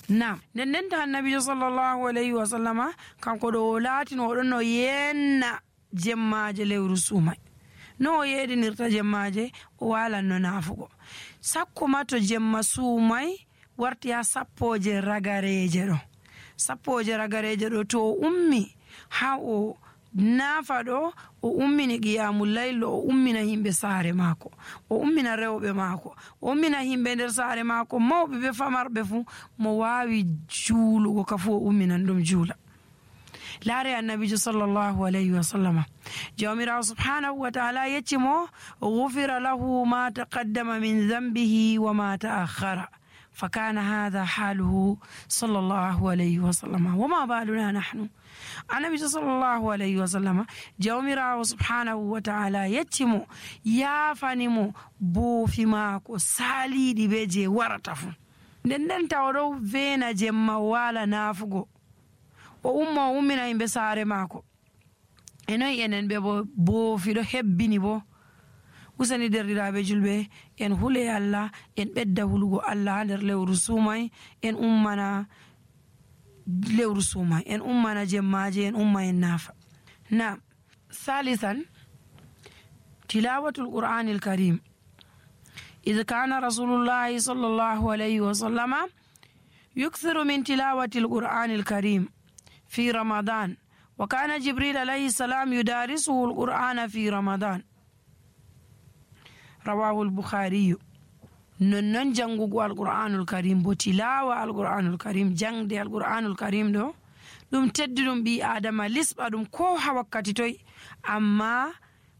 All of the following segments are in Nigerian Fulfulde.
Naam, nden ta annabijo sallallahu alayhi wa sallama kanko ɗo o laatino oɗon no yenna jemmaje lewru sumay. No o yeɗinirta jemmaje o walanno naafugo sakko ma to jemma sumay warti ha sappoje ragareje ɗo. Sappoje ragareje ɗo to o ummi ha o naafa ɗo o ummini qiyamul layl o ummina himɓe saare maako, o ummina rewɓe maako, o ummina himɓe nder saare maako mawɓe be famarɓe fuu mo waawi juulugo ka fuu o umminan ɗum juula. laare annabijo sallallahu alayhi wa sallama jawmirawo subhanahu wa ta'ala yecci mo ghufira lahu ma taqaddama min dhanbihi wa ma ta'akhkhara فكان هذا حاله صلى الله عليه وسلم وما بالنا نحن. النبي صلى الله عليه وسلم جومرا سبحانه وتعالى يتمو يافنمو بو فيماكو سالي دي بيجي ورطفو nden tawɗo veena jemma wala naafugo o umma o ummina yimɓe saare maako e noyi enen ɓe bo boofiɗo hebbini bo usani derɗiraɓe julɓe en hule Allah en ɓedda hulugo Allah nder lewru sumay en ummana lewru sumay en ummana jemmaje en umma en naafa. Na thalithan tilawatul qur'anil karim إذا كان رسول الله صلى الله عليه وسلم يكثر من تلاوة القرآن الكريم في رمضان وكان جبريل عليه السلام يدارسه القرآن في رمضان رواه البخاري. نن جنغو القرآن الكريم بتلاوة القرآن الكريم جنگ دي القرآن الكريم دو دم تددم بي آدم لسب أدم كوها وقت توي أما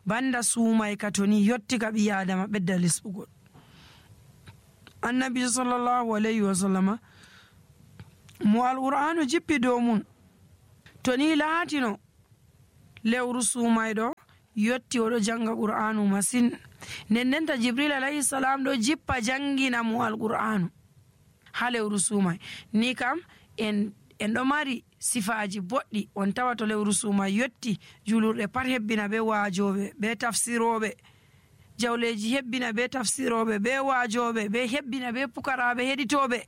بند سوما يكتوني يتك بي آدم بدأ لسب النبي صلى الله عليه وسلم مو القرآن جيبي دومون توني لاتينو lewru sumayɗo yotti oɗo janga qur'anu masin nendenta jibril alayhi salam ɗo jippa jangina mo alqur'anu ha lewru sumay ni kam en ɗo mari sifaji boɗɗi on tawa to lewru sumay yotti julurɗe pat hebbina be waajoɓe be tafsiroɓe jawleji hebbina be tafsiroɓe be waajoɓe be hebbina be pukaraɓe heɗitoɓe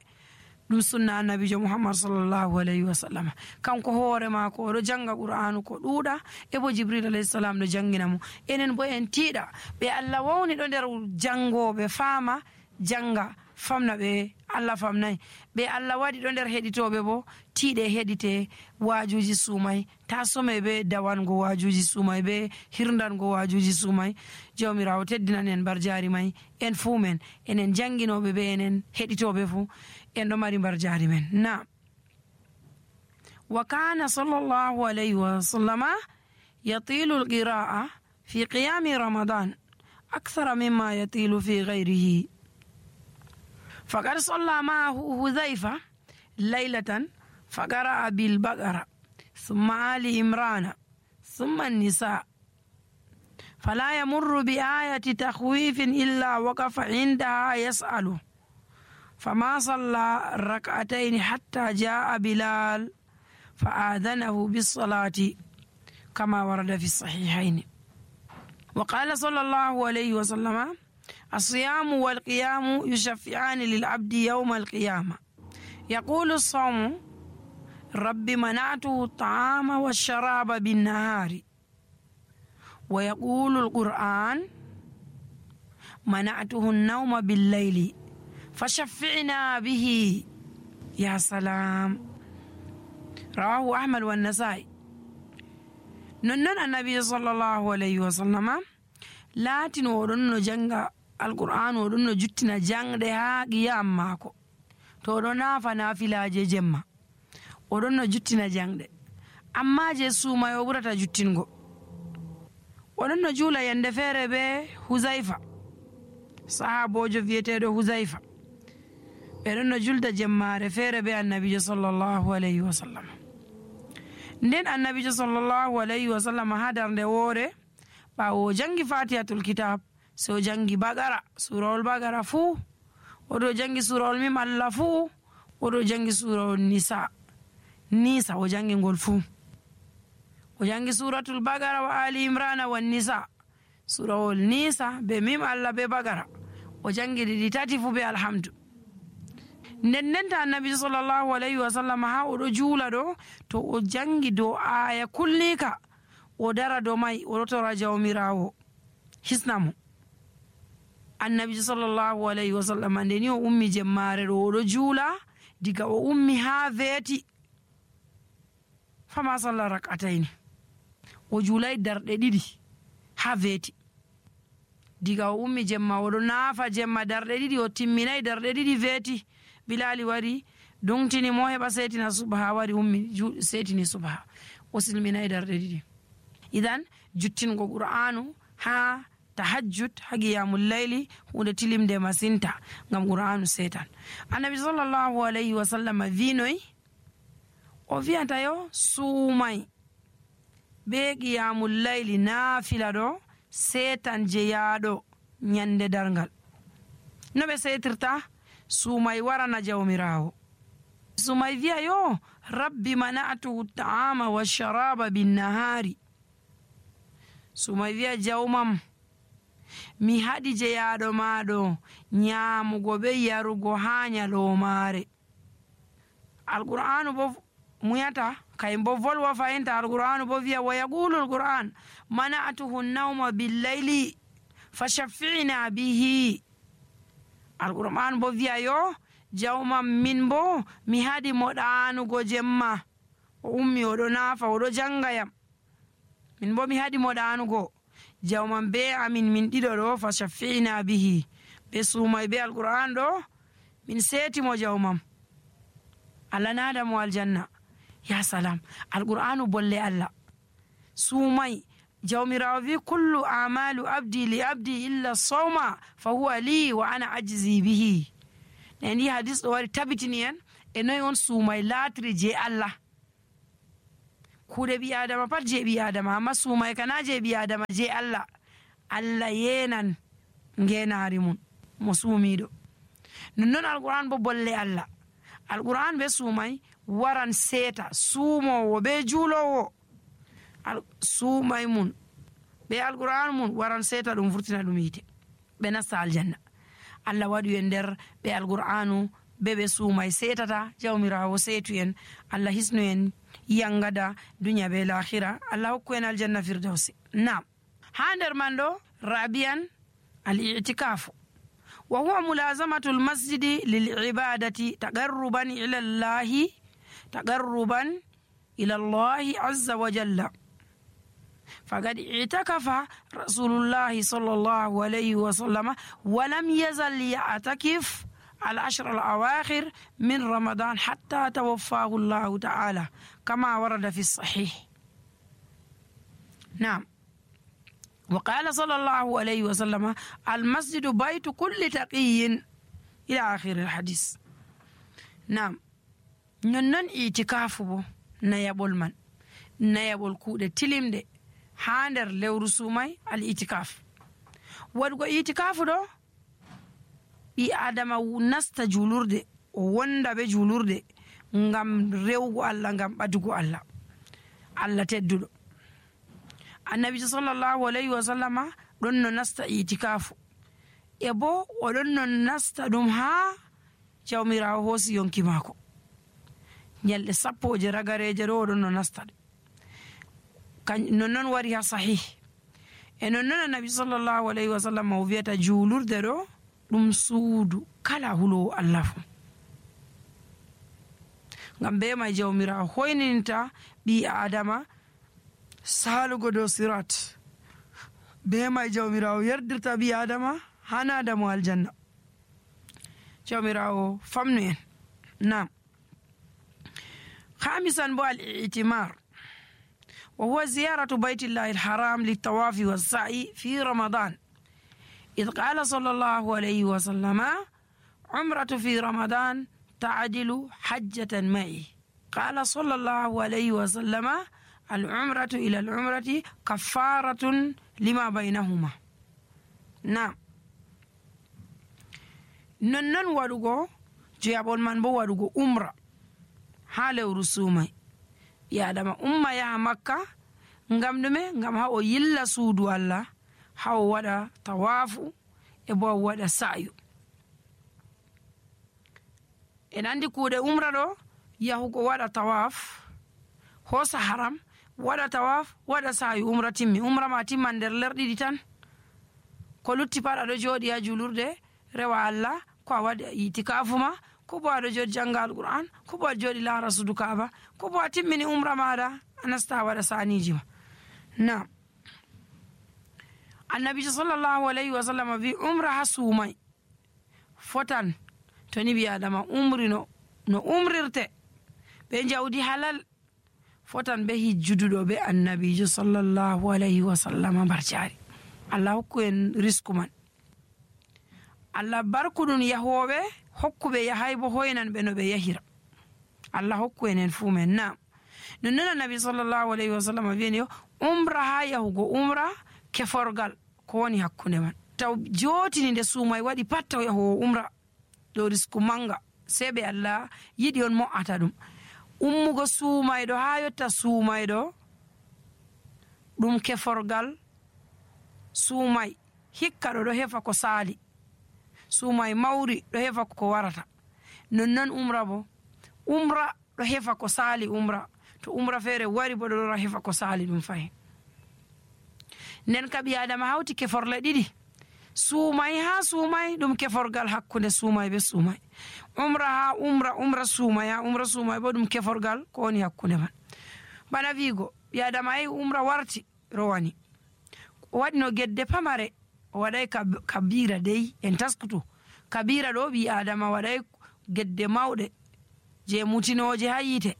ɗum sunna annabijo muhammad sallallahu alayhi wa sallam kanko hoore maako oɗo janga qur'anu ko ɗuuɗa e bo jibril alayhi salam ɗo jangina mo enen bo en tiiɗa ɓe allah wawni ɗo nder jangoɓe faama janga famna ɓe allah famnayi ɓe allah waɗi ɗo nder heɗitoɓe bo tiiɗe heɗite waajuji sumay ta some be dawango waajuji sumay be hirdango waajuji sumay jawmirawo teddinan en mbar jaari may en fuu men enen janginoɓe ɓe enen heɗitoɓe fuu en ɗo mari mbar jaari men. Na wa kana sallallahu alayhi wa sallama yatilu alqira'a fi qiyami ramadan akthara mimma yatilu fi ghayrihi فقد صلى معه حذيفة ليلة فقرأ بالبقرة ثم آل عمران ثم النساء فلا يمر بآية تخويف إلا وقف عندها يسأله فما صلى ركعتين حتى جاء بلال فآذنه بالصلاة كما ورد في الصحيحين. وقال صلى الله عليه وسلم الصيام والقيام يشفعان للعبد يوم القيامة يقول الصوم رب منعته الطعام والشراب بالنهار ويقول القرآن منعته النوم بالليل فشفعنا به يا سلام. رواه أحمد والنسائي. ننن النبي صلى الله عليه وسلم لاتن ورن جنغ القرآن ورن جتنا جنغ ها قيام ماكو تورنا فنافلا جمع ورن جتنا جنغ أما جسو ما يبرت جتنغو ورن جولا يندفر به حذيفة صحابو جو فيتيدو حذيفة ورن جلد جمع فير به النبي صلى الله عليه وسلم. nden annabijo sallallahu alayhi wa sallam hadarnde woore ɓawo jangi fatihatul kitab so jangi bagara surawol bagara fuu oɗo jangi surawol mim allah fuu oɗo jangi surawol nisa o jangi ngol fuu o jangi suratul bagara wa ali imrana wan nisa surawol nisa be mim allah be bagara o jangi ɗiɗi tati fuu be alhamdu. ndendenta annabi sallallahu alaihi wasallam ha oɗo juula ɗo to o jangi dow aya kulnika o dara dow mai oɗo tora jawmirawo hisnamo. annabi sallallahu alaihi wasallam ndeni o ummi jemmare ɗo oɗo juula diga o ummi ha veeti fama sallah rak'ataini o juulay darɗe ɗiɗi ha veeti diga o ummi jemma oɗo naafa jemma darɗe ɗiɗi o timminay darɗe ɗiɗi veeti bilali wari dongtini mo heɓa setina subaha wari ummi setini subaha o silminay darɗe ɗiɗi. idan juttingo qur'anu ha tahajjud ha qiyamul layli hunde tilimde masinta ngam qur'anu setan. annabi sallallahu alaihi wasallam vinoy o wiyata yo suumay be qiyamul layli naafila ɗo setan jeyaɗo nyande dargal. no ɓe setirta? suumay warana jawmirawo. suumay wiya yo rabbi mana'atuhu ta'ama wa sharaba binnahari. suumay wiya jawmam mi haɗi jeyaɗo maɗo nyamugo be yarugo ha nyalomare. alqur'anu bo muyata kay bo volwa fayinta. alqur'anu bo wiya wa yaqulu alqur'an mana'atuhu nawma billayli fashaffi'na bihi. alqur'an bo wiya yo jawmam min bo mi haɗi mo ɗanugo jemma o ummi oɗo naafa oɗo jangayam min bo mi haɗi mo ɗanugo jawmam be amin min ɗiɗo ɗo fashaffi'na bihi be suumay be alqur'an ɗo min seetimo jawmam allah nada mo aljanna. ya salam alqur'anu bolle allah. suumay jawmirawo wi kullu amalu abdi li abdi illa sawma fa huwa li wa ana ajzi bihi. neni hadis ɗo wari tabitini en e noy on suumay laatiri je allah. kuuɗe ɓi adama pat je ɓi adama amma suumay kana je ɓi adama je allah. allah yenan ngenari mum mo suumiɗo. nonnon alqur'an bo bolle allah. alqur'an be suumay waran seeta suumowo be juulowo. suumay mun be alqur'an mun waran seeta ɗum furtina ɗum yite ɓe nasta aljanna. allah waɗi en nder ɓe alqur'anu be suumay seetata jawmirawo seetu en. allah hisnu en yangada dunya be lahira. allah hokku en aljanna firdausi. nam ha nder man ɗo rabian al-i'tikafu wa huwa mulazamatu al-masjidi lil-ibadati taqarruban ila allahi azza wa jalla. فقد اعتكف رسول الله صلى الله عليه وسلم ولم يزل يعتكف العشر الأواخر من رمضان حتى توفاه الله تعالى كما ورد في الصحيح. نعم. وقال صلى الله عليه وسلم المسجد بيت كل تقي إلى آخر الحديث. نعم. ننن اعتكاف نيابول من نيابول كودة تلم ha nder lewru suumay al itikaf. waɗugo itikafu ɗo ɓi adama nasta julurde o wonda be julurde ngam rewgo allah ngam ɓadugo allah tedduɗo. annabi sallallahu alaihi wasallama ɗon no nasta itikafu e bo oɗon no nasta ɗum ha jawmirawo hoosi yonki maako nyalɗe 10 ragareje ɗo oɗon no nasta ɗe. nonnon wari ha sahih e nonnon annabi sallallahu alaihi wasallam o wiyata juulurde ɗo ɗum suudu kala hulowo allah fu. ngam be may jawmirawo hoyninta ɓi adama salugo dow sirat. be may jawmirawo yerdirta ɓi adama hanada mo aljanna. jawmirawo famnu en. nam. khamisan bo al-i'timar وهو زيارة بيت الله الحرام للطواف والسعي في رمضان. إذ قال صلى الله عليه وسلم عمرة في رمضان تعدل حجة معي. قال صلى الله عليه وسلم العمرة إلى العمرة كفارة لما بينهما. نعم. ننن ودوغو جيابون من بو ودوغو عمرة حالة رسومي ya dama umma yaha makka ngam ɗume ngam ha o yilla suudu allah ha o waɗa tawafu e bo o waɗa sa'yu en andi kuuɗe umra ɗo yahugo waɗa tawaf hosa haram waɗa tawaf waɗa sa'i umra timmi. umra ma timman nder lerɗiɗi tan, ko lutti pat aɗo jooɗi ha julurde rewa Allah, ko a waɗi itikafu ma, ko bo aɗo jooɗi janga alqur'an, ko bo aɗo jooɗi laara sudu kaaba, ko bo a timmini umra maɗa a nasta waɗa saniji ma. na annabijo sallallahu alayhi wa sallam wi umra ha suumai fotan to ni ɓi adama umri no umrirte be jawdi halal fotan be hijjuduɗo be annabijo sallallahu alayhi wa sallam barjari. Allah hokku en risku man, Allah barkuɗum yahoɓe, hokkuɓe yahay bo hoynan ɓe no ɓe yahira. Allah hokku en fuu men. na nonnon annabi sallallahu alayhi wa sallam wiyeni yo umra ha yahugo umra keforgal ko woni hakkunde man. taw jotini nde suumay waɗi pat taw yahowo umra ɗo risku manga, sei ɓe Allah yiɗi on mo'ata ɗum. ummugo suumayɗo ha yotta suumayɗo ɗum keforgal. suumay hikka ɗo hefa ko saali, suumay mawri ɗo hefa ko warata. nonnon umra bo, umra ɗo hefa ko saali umra, to umra feere wari bo ɗo hefa ko saali ɗum fayin. nden ka ɓi adama hawti keforle ɗiɗi, suumay ha suumay ɗum keforgal hakkunde suumay be suumay, umra ha umra suumay ha umra suumay bo ɗum keforgal ko woni hakkunde man. bana wiigo ɓi adama yehi umra warti rowani, o waɗi no gedde pamare, o waɗay kabira dey en taskutu. kabira ɗo ɓi adama waɗay gedde mawɗe je mutinoje ha yite.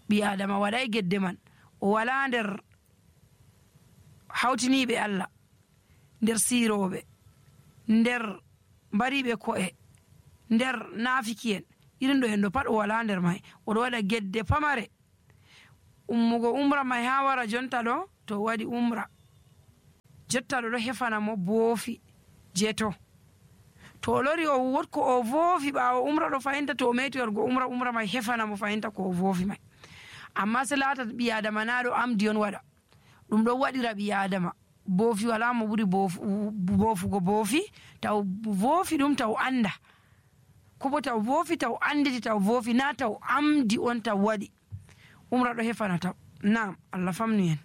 ɓi adama waɗay gedde man, o wala nder hawtiniɓe Allah, nder siroɓe, nder mbariɓe ko'e, nder nafiki'en, irin ɗo en ɗo pat o wala nder may. oɗo waɗa gedde pamare. ummugo umra may ha wara jonta ɗo to waɗi umra jotta ɗo hefana mo boofi je to o lori o wotko o voofi ɓawo umra ɗo fayinta, to o meti wargo umra may hefana mo fayinta ko o voofi may. amma se laata ɓi adama na ɗo amdi on waɗa ɗum ɗo waɗira ɓi adama. boofi wala mo ɓuri boofugo boofi, taw voofi ɗum taw anda, ko bo taw voofi taw anditi taw voofi, na taw amdi on taw waɗi. umra ɗo hefana taw. nam Allah famnu en.